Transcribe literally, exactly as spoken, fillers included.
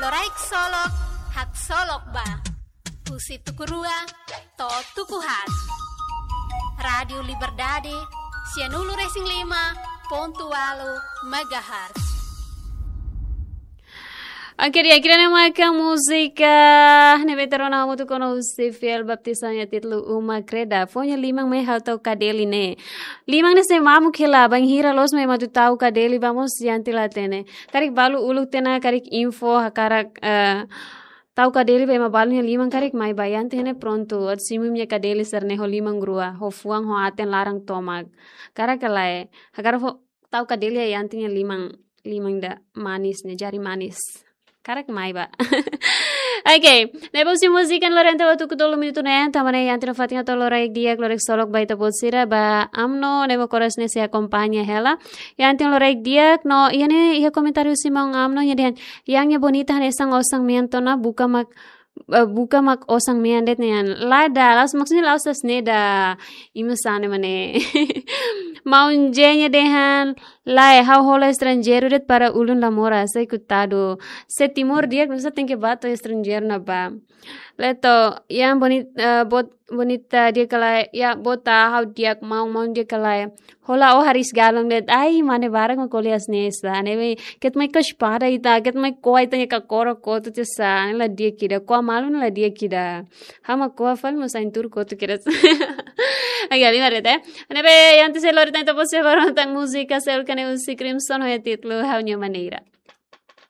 Loraik Solok, haksolok ba. Husi tuku rua to'o tuku haat. Rádiu Liberdade, sianulu-resin-lima pontu ualu megahertz. Oke, di'ak, ida-ne'e maka múzika ne'ebé ita rona hamutuk ona husi Fiel Baptista nia títulu Uma Kreda. Fó nia liman mai ha'u tau kadeli ne'e. Liman ne'e sei mamuk hela, bainhira loos mai ema atu tau kadeli ba mós Yanti la hatene. Karik balu uluk tiha ona karik info hakarak, eh, tau kadeli ba ema balu nia liman, karik mai ba Yanti ne'e prontu. Atu simu imi-nia kadeli sira-ne'e ho liman rua, ho fuan, ho aten laran tomak. Karik ka lae, hakarak fó tau kadeli ba Yanti nia liman, liman ida manis ne'e, jari manis. Karik mai ba. Oke, ne'ebé husi múzika ne'e lori ita ba tuku tolu minutu ne'e, tanba ne'e Yanti nia fatin atu loraik di'ak, loraik solok ba ita-boot sira, ba Amno ne'ebé koras ne'e sei akompaña hela. Yanti loraik di'ak, no iha ne'e, iha komentáriu husi maun Amno, nia dehan, Yang nia bonita hanesan osan-mean tiha ona, buka mak, eh, buka mak osan-mean de'it nian. Lae ida, la'ós, maksudnya la'ós hanesan ne'e ida, imi sane mane. Maun J nia dehan, lae, ha'u hola estranjeiru de'it para ulun la moras, ai koitadu. Se Timor di'ak, nusá tenke ba to'o estranjeiru ne'ebá. Leto, yang boni-, eh, bot-, bonita di'ak ka lae, ya, bota ha'u di'ak, maun, maun di'ak ka lae. Hola ó hariis galon de'it, ai, mane barak mak ko'alia hanesan ne'e sá. Ne'ebé, keta mai kos pada ita, keta mai ko'a ita-nia kakoro kotuk tiha sá, ne'e la di'ak ida, ko'a malu ne'e la di'ak ida. Ha'u mak ko'a fali mós ain tuur kotuk ida. Oke, liu de'it. Ne'ebé, Yanti sei lori tan ita-boot sira ba rona tan múzika seluk ne'e husi Crimson ho nia títulu Ha'u-nia Maneira.